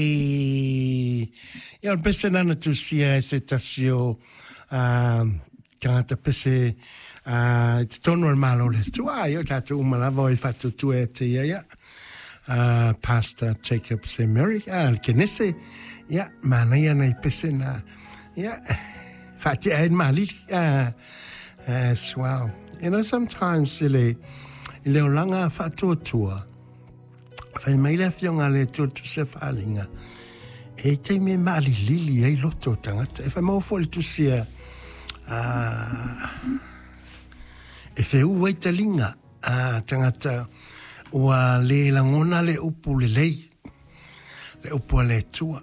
Ia, o le pese lena na tusia e se tasi o tagata pese i totonu o le Malo o le Atua. Ia, o tatou uma lava o e faatuatua ia te ia, ia. Pastor Jacob Semeri, le Kenese, ia, manaia nai pese na, ia, faatea ai le malili, as well. Sometimes i le olaga faatuatua, fai mai le afioga a le Atua i le Tusi a Faaaliga, e i ai taimi e maalilili ai loto o tagata. E faamaua foi le tusi a e feuu ai taliga a tagata ua le lagona le upu lelei, le upu a le Atua.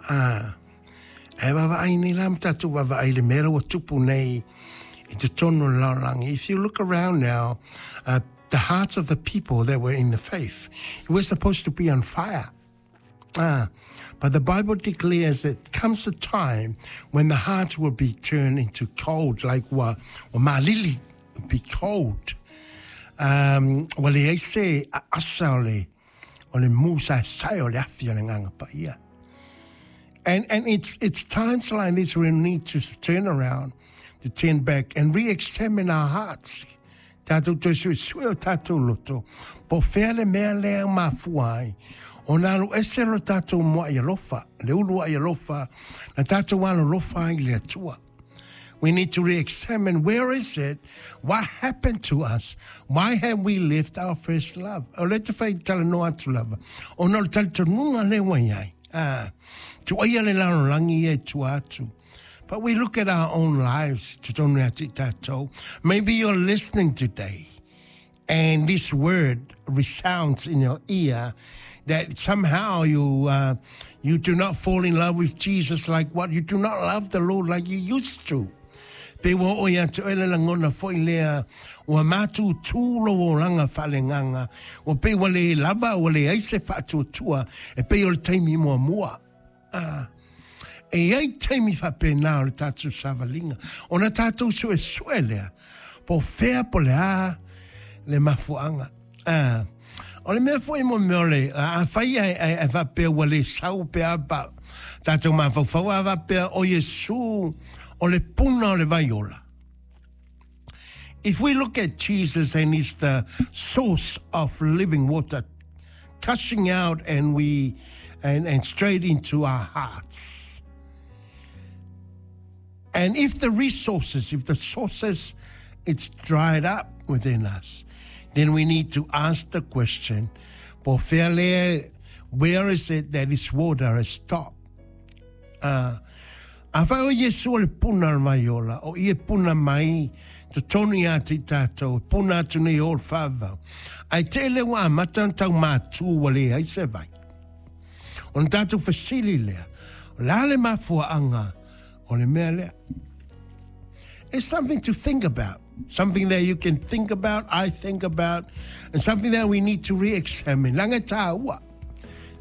Ae vaavaai nei la ma tatou vaavaai i le mea la ua tupu nei i totonu o le lalolagi. If you look around now, the hearts of the people that were in the faith were supposed to be on fire. But the Bible declares that comes a time when the hearts will be turned into cold, like ua malili, be cold. Ua leai se aasa o le mu saesae o le afi o le Agaga Paia. And it's times like this we need to turn around, to turn back and re-examine our hearts. Tatou toe suesue o tatou loto. Po fea le mea lea mafua ai ona alu ese lo tatou muai alofa, le uluai alofa, na tatou alolofa ai le Atua. We need to re-examine where is it, what happened to us, why have we left our first love? O le te whai talanoa atu lava, ona o le talitonuga le ua i ai. Tuaia le lalolagi ia e tua atu. But we look at our own lives, totonu ia te tatou. Maybe you're listening today and this word resounds in your ear that somehow you do not fall in love with Jesus like what you do not love the Lord like you used to. Pe ua oo ia te oe le lagona foi lea ua matutu lou olaga faaleagaga ua pei ua le lava ua leai se faatuatua e pei o le taimi muamua. E iai taimi faapena o le tatou savaliga ona tatou suesue lea po fea po le a le mafuaaga. O le mea foi mo mea o le afai ae faapea ua le sau pe a pa tatou mafaufau a faapea o Iesu o le puna o le vai ola. If we look at Jesus and he's the source of living water, gushing out and straight into our hearts. And if the resources, if the sources, it's dried up within us, then we need to ask the question, po fea lea, where is it that this water has stopped? Afai o Iesu o le puna o le vai ola, o ia puna mai, totonu ia te tatou, puna atu nei o le faavavau. Ae tele ua amata ona tau matu ua leai se vai. Ona tatou fesili lea, o le a le mafuaaga o le mea lea? It's something to think about. Something that you can think about, I think about, and something that we need to re-examine. Leaga e taua.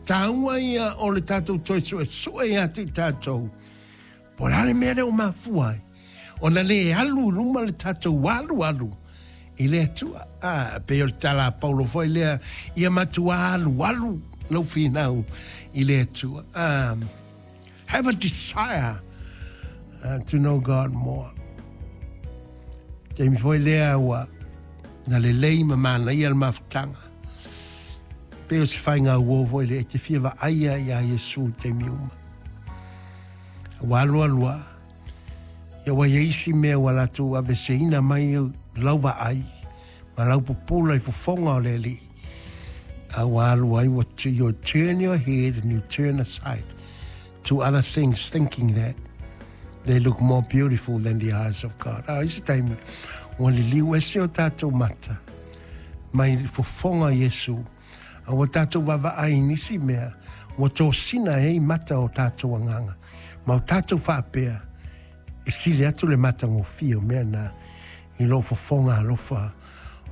Taua ia o le tatou toe suesue ia te tatou. Po o le a le mea lea ua mafua ai ona le alu i luma le tatou alu alu i le Atua. Pei o le tala a Paulo foi lea, ia matua alu alu lau finau i le Atua. Have a desire to know God more. Taimi foi lea ua na lelei ma manaia le mafutaga. Pei o se faiga uo foi lea e te fia vaaia ia Iesu i taimi uma. Ua alu alu a, ia ua iai isi mea ua latou aveseina mai lau vaai ma lau pupula i fofoga o le Alii. A ua alu ai ua you turn your head and you turn aside to other things, thinking that they look more beautiful than the eyes of God. A isi taimi, ua liliu ese o tatou mata mai fofoga Iesu. A ua tatou vaavaai i nisi mea, ua tosina e ai mata o tatou agaga. Ma o tatou faapea, e sili atu le matagofie o mea na i lo fofoga alofa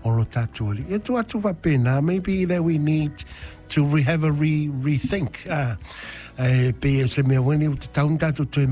o lo tatou Alii. E tu atu faapena, maybe that we need to have a rethink. E pei e se mea foi ni o te tau ni tatou toe.